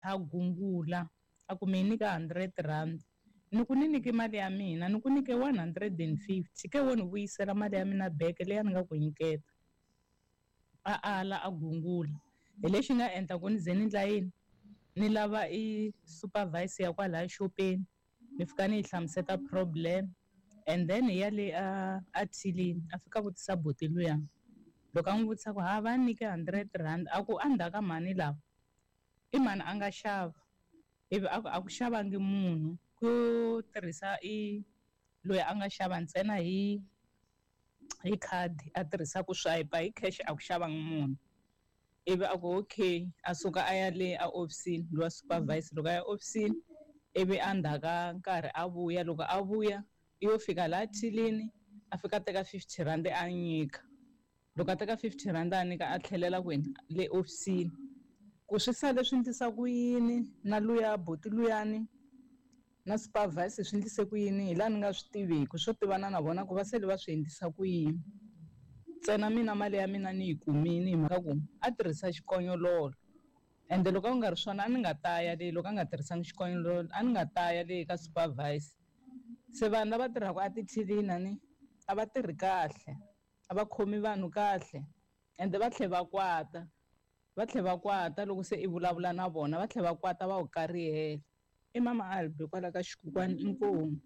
A gungula a ku mi nyika R100, ni ku ni nyike mali ya mina, ni ku nyike 150, ke wo ni vuyisela mali ya mina back leyi a ni nga ku nyiketa. A ala a gungula. Hi lexi nga endla ku ni ze ni ndla yini, ni lava i supervisor ya kwalaya xopeni, ni fika ni yi hlamuseta problem, and then hi ya le a a thilini a fika a vutisa buti luya. Loko a n'wi vutisa ku ha va ni nyike R100, a ku endzhaku ka mhani lava i mani a nga xava, ivi a ku a ku xavangi munhu, ku tirhisa i loyi a nga xava ntsena hi khadi a tirhisa ku swipe hi cash a ku xavangi munhu. Ivi a ku okay, a suka a ya le a hofisini lowa supervisor, loko a ya hofisini ivi endzhaku ka nkarhi a vuya, loko a vuya i yo fika laha thilini a fika a teka R50 a nyika. Loko a teka R50 a nyika a tlhelela kwini le hofisini. Ku swi sale swi endlisa ku yini na luya buti luyani na supervisor swi endlise ku yini hi laha ni nga swi tiviki, swo tivana na vona ku va sele va swi endlisa ku yini. Ntsena mina mali ya mina ni yi kumile hi mhaka ku a tirhisa xikonyololo, ende loko a ku nga ri swona a ni nga ta ya le, loko a nga tirhisanga xikonyololo a ni nga ta ya le ka supervisor. Se vanhu lava tirhaka etithilini a ni a va tirhi kahle, a va khomi vanhu kahle, ende va tlhela va kwata, va tlhela va kwata loko se i vulavula na vona, va tlhela va kwata va ku karihela. I mama Albi kwala ka Xikukwani, inkomu.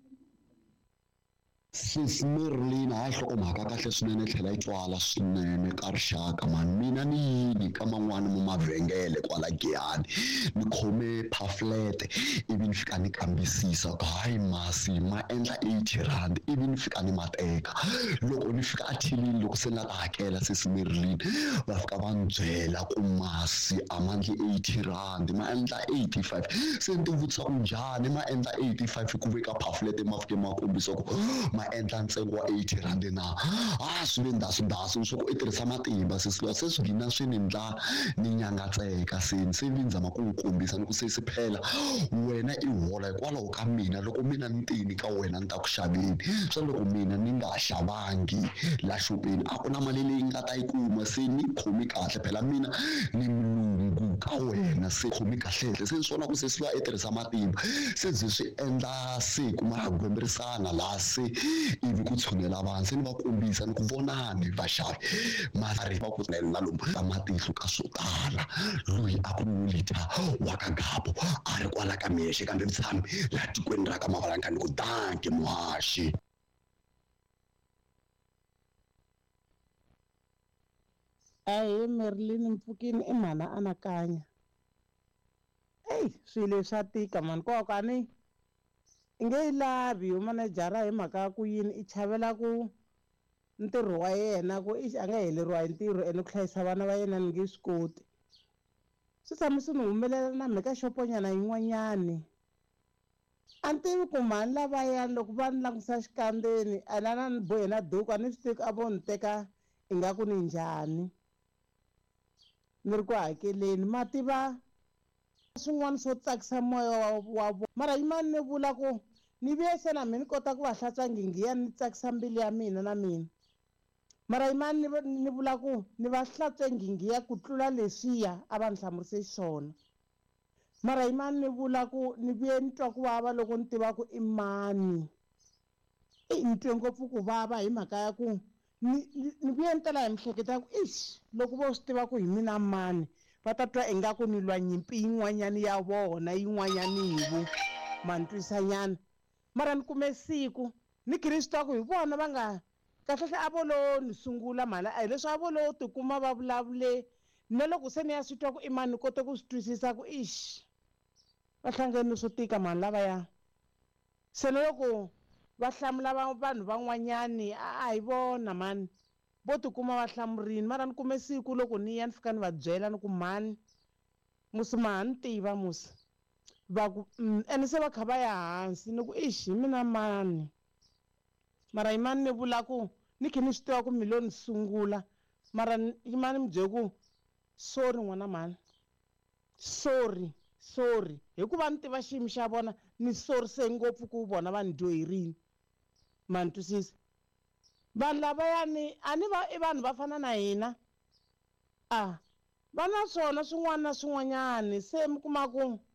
Sis Merlin, hayi nhlokomhaka kahle swinene tlhela yi twala swinene ka rixaka mani. Mina ni yini ka man'wani mo mavhengele kwala Giyani, ni khome pamphlet ivi ni fika ni kambisisa ku hayi masi ma endla R80, ivi ni fika ni ma teka. Loko ni fika athilini loko se ni la ta hakela sis Merlin, va fika va ni byela ku masi a ma endli R80, ma endla 85. Se ni ti vutisa ku njhani ma endla 85 ku ve ka pamphlet ma fike ma kombisa ku ma endla ntsengo wa R80 na. A swi ve ndhasu-ndhasu swa ku i tirhisa matimba sesi luya, se swi gina swi ni ndla ni nyangatseka, se ni se vi ni zama ku n'wi kombisa ni ku sesi phela wena i hola hikwalaho ka mina, loko mina ni tini ka wena ni ta ku xaveni, swa loko mina ni nga xavangi la xopeni a ku na mali leyi nga ta yi kuma, se ni khomi kahle phela mina ni mulungu ka wena, se khomi kahlehle. Se ni swi vona ku sesi luya i tirhisa matimba, se ze swi endla se ku ma gwemberisana laha se ivi ku tshunela vanhu, se ni va kombisa ni ku vonani vaxavi mari va ku na lomu ka matihlo ka swo tala. Loyi a ku Wulita wa ka Gabo a ri kwala ka Mexe kambe mutshami laha tikweni ra ka Mavalanka, ni ku danki muhaxi. Ahee Merlin Mpfukini i mhana anakanya. Ey swilo leswi swa tika mani ko ka ni i nge yi lavi yo manejara hi mhaka ya ku yini i chavela ku ntirho wa yena ku ixi a nga heleriwa hi ntirho ene ku hlayisa vana va yena ni nge swi koti. Swi tshame swi ni humelela na mhe ka xoponyana yin'wanyani. A ni tivi ku mhani lavayani loko va ni langutisa xikandzeni ene a na ni bohe na duku a ni swi tivi ku a vo ni teka ingaku ni njhani. Ni ri ku hakeleni ma tiva swin'wana swo tsakisa moya wa wa vona mara yimani ni vula ku ni vuye se na mina ni kota ku va hlantswa nghinghiya ni tsakisa mbilu ya mina na mina mara yimani ni ni vula ku ni va hlantswe nghinghiya ku tlula leswiya a va ni hlamurise xiswona mara yimani ni vula ku ni vuye ni twa ku vava loko ni tiva ku i mani. Eyi ni twe ngopfu ku vava hi mhaka ya ku ni ni vuye ni tela hi miehleketo ya ku ixi loko vo swi tiva ku hi mina mani va ta twa ingaku ni lwa nyimpi yin'wanyana ya vona yin'wanyanivu ma ni twisanyana mara ni kume siku ni khe ni swi tiva ku hi vona va nga kahlekahle a vo lo ni sungula mhani a hi leswi a vo lo tikuma va vulavule na loko se ni ya swi twa ku i mani ni kote ku swi twisisa ku ixi va hlangene swo tika mhani lavaya. Se na loko va hlamula va vanhu van'wanyani a hi vona mhani vo tikuma va hlamurini mara ni kume siku loko ni ya ni fika ni va byela ni ku mhani musi ma ha ni tiva musi va ku ene se va kha va ya hansi ni ku ixi hi mina mani mara yimani ni vula ku ni khe ni swi tiva ku mi lo ni sungula mara yimani mi byele ku sorry n'wana mhani. Sorry sorry hikuva ni tiva xiyimo xa vona ni sorise ngopfu ku vona va ni dyoherini ma ni twisisa vanhu lavayani a ni va i vanhu va fana na hina a. Va na swona swin'wana na swin'wanyani, se mi kuma ku.